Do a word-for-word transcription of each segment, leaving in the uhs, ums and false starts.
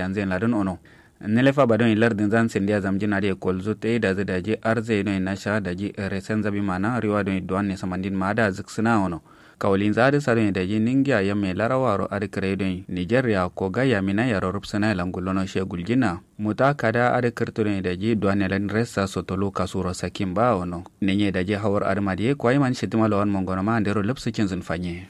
yanzu yen ladǝn ono. Nilefa ba doni lardǝn zan sendiya zamjin adǝ ye kolzu tai dazǝ daji arze doni nasha daji resen zabi mana riwa doni duwan ne samandin ma da zǝksǝna ono. Kawulin za adǝ sa doni daji ningiya yamme larawaro adǝ kǝrai doni nigeria ko gayya mina yaro rupsǝna ye langullono she guljina. Muta kada adǝ kǝrtǝ doni daji duwan ne lan resa sotolu kasuro sakin ba ono. Nenye daji hawar adǝ ma diye kwai man shitima lawan mongono ma andero lupsǝ cinzǝn fanye.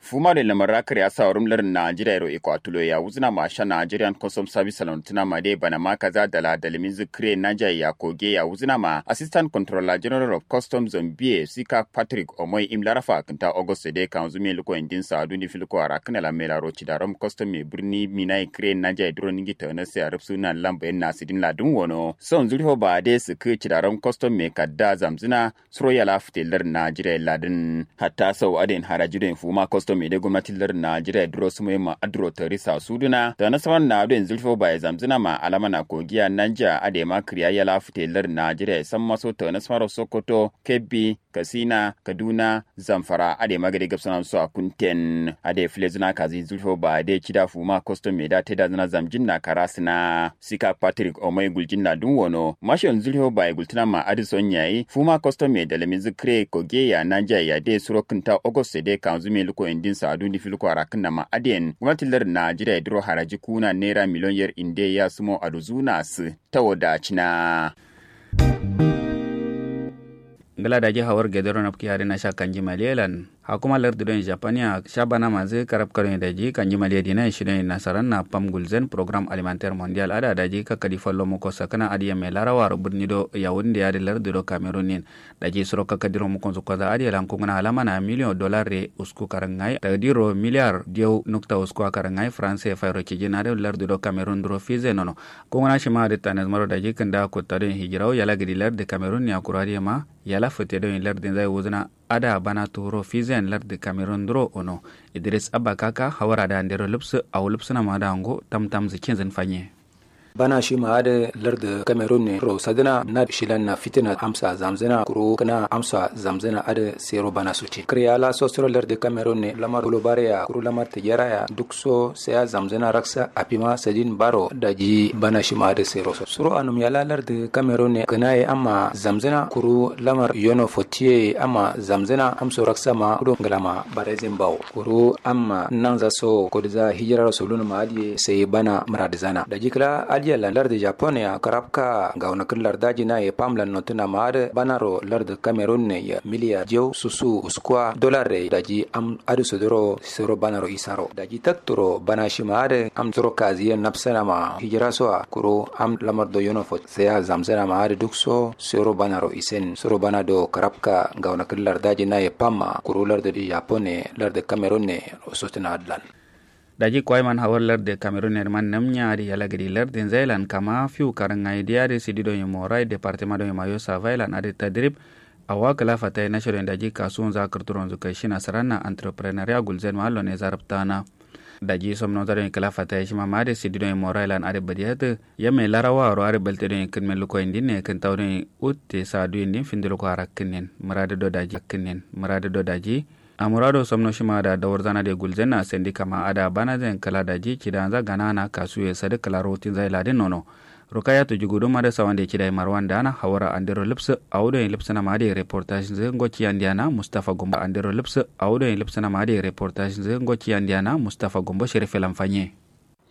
Fuma doi lamar rakar ya sa wurum lardǝ najeriya ro iko atulo ya wuzuna ma sha nigerian custom service salon tuna ma dai bana ma kaza dala dalmin zikire naja ya koge ya wuzuna ma assistant controller general of custom zambia sika patrick omoi im larafa kanta august dai kan zumi luko indin sa duni filko ara kana la mela ro cidarom custom me birni mina ikire naja duro ningi tana sai arab suna lambayin nasidin ladun wono son zurfo ba dai su ku cidarom custom me kadda zamzuna suro yala fite lardǝ najeriya ladǝn. Hatta sau adǝ yen haraji doi fuma custom ye dai gomnati lardǝ najeriya duro sumo ye ma aduro tarisa suduna tana saman na adǝ yen zulfo ba ye zamzǝna ma alama na kogiya nanja adǝ ye ma kǝriya yala fite lardǝ najeriya ye samma so tana samaro sokoto kebbi kasina kaduna zamfara adǝ ye ma gade gabsana so a kunten adǝ ye fǝlezǝna kazi zulfo ba ye dai cida fuma custom ye da taidazǝna zamjin na karasǝna. Sika patrick omoi guljin na dun wono masho nzulho baye gultuna ma adǝ son yayi fuma custom ye dalami zǝ kǝre koge ya nanja ya de suro kǝnta august de kanzu me luko indin sa duni filko arakkǝn na ma adǝ yen gomnati lardǝ najeriya duro haraji kuna naira miliyon yer inde ya sumo aduzuna sǝ tawo dacina. Ngla daji hawar gedero nabki hari nasha kanji maliyelan hakuma lardǝ don japania shabana manzǝ karabka don daji kanji maliye dina shi don nasaran na pam gulzen program alimentaire mondial ada daji kakkadi fallo muko sakana adǝ yamme larawaro birni do yawunde adǝ lardǝ do cameroon yen. Daji suro kakkadiro mukonzǝ konza adǝ ye lankunguna alama na miliyon dolar re usku karangai tagdiro miliyar diyau nukta usku a karangai france fairo cijin adǝ lardǝ do cameroon duro fize nono. Kunguna shima adǝ tanezmaro daji kǝnda kutta don hijirau yala gidi lardǝ cameroon ya kuro adǝ yema yala fǝte don lardǝ nzai wuzǝna. Ada bana turo fizen lardǝ cameroon duro ono idris abba kaka hawara da andero lupsǝ awo lupsǝna ma da ngo tamtam zǝ cinzǝn fanye. Bana shima adǝ lardǝ cameroon ne ro sadǝna na shilan na fitina amsa zamzǝna kuro kǝna amsa zamzǝna adǝ sero bana sutin kǝriya la sosoro lardǝ cameroon ne lamar globariya kuro lamar tijera ya duk so saya zamzǝna raksa afima sadin baro daji bana shima adǝ sero so suro anum yala lardǝ cameroon ne kǝna ye amma zamzǝna kuru lamar yono fotiye amma zamzǝna amso raksa ma kudo ngla ma barezin bawo kuru amma nanza so kodiza hijira ro solun ma adiye sai bana murad zana daji kla adiya lan lardǝ japon ya karabka gauna kǝn lardajina ye pam lan notuna ma adǝ bana ro lardǝ cameroon ne ya miliya jew susu uskwa dolar re daji am adǝ sodoro sero bana ro isaro daji takturo bana shima adǝ am suro kaziye napsana ma hijira so a kuru am lamar do yono fo saya zamzana ma adǝ duk so sero bana ro isen sero bana do karabka gauna kǝn lardajina ye pam ma kuru lardǝ japon ne lardǝ cameroon ne ro sotuna adlan. Daji kwai man hawar lardǝ cameroon ne man namnya adǝ yala gadi lardǝ nzailan kama fiu karangai diya adǝ sidi do ye morai departement do ye mayo savailan adǝ tadrib. Awa kǝla fataye nashido daji kasuwun za kǝrturonzu kai shina saranna entrepreneuria gulzen ma allo ne zarabtana. Daji somno za don kǝla fataye shima ma adǝ sidi don morailan adǝ badiyatǝ yamme larawa ro adǝ balte don kǝnmen luko indin ne kǝntau don utte sa du indin findi luko arakkǝnnen muradu do daji kǝnnen muradu do daji. Amurado somno shima da dawar zana de gulzen na sendi kama ada bana zen kala daji cidanza ganana kasuye sadǝ kala rotin zai ladin nono. Rukayatu juguduma da sawande cidai marwan dana hawara andero lipsǝ. Awudo yen lipsǝna ma adǝ reportage nzǝ ngo ciyandiana mustafa gombo andero lipsǝ. Awudo yen lipsǝna ma adǝ reportage nzǝ ngo ciyandiana mustafa gombo sherife lamfanye.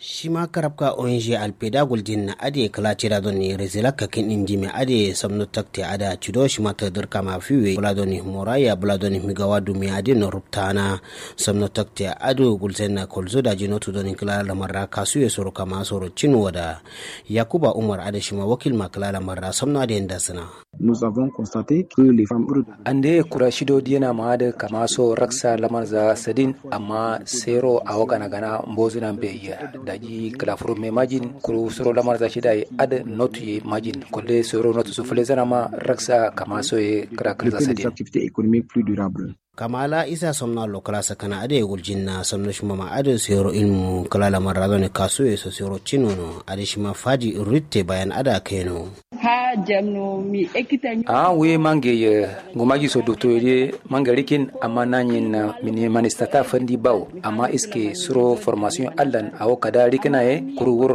Shima karabka ong alpeda guljin na adǝ kǝla cida doni rezela kakin indime adǝ samno takte ada cido shima tadir kama fiwe bula doni moraya bula doni migawa dumiya adǝ no ruptana. Samno takte adǝ gulzen na kolzo daji notu doni kǝla lamarra kasuye soro kama soro cin wada. Yakuba umar adǝ shima wakil ma kǝla lamarra samno adǝ yenda sǝna. Nous avons constaté que les femmes urdu. Ande kura shido diyena ma adǝ kama so raksa lamarza sadin amma sero awo gana gana mbozuna mbeyi. Daji kǝla furu me majin kuru soro lamarza shida ye adǝ notu ye majin kulle sero notu su fǝlezana ma raksa kama so ye kǝra kǝrza sadin. Activités économiques plus durables. Kama la isa somno allo kǝla sakana adǝ ye guljinna somno shima ma adǝ sero ilmu kǝla lamarra done kasu ye so sero cinono adǝ shima fadi rutte bayan adǝ akeno. Ha jamno mi ekita nyo. A wuye mange ye ngumaji so doktor ye mange rikin amma nanyin mini manistata fandi bawo amma iske suro formation allan awo kada rikina ye kuru wuro.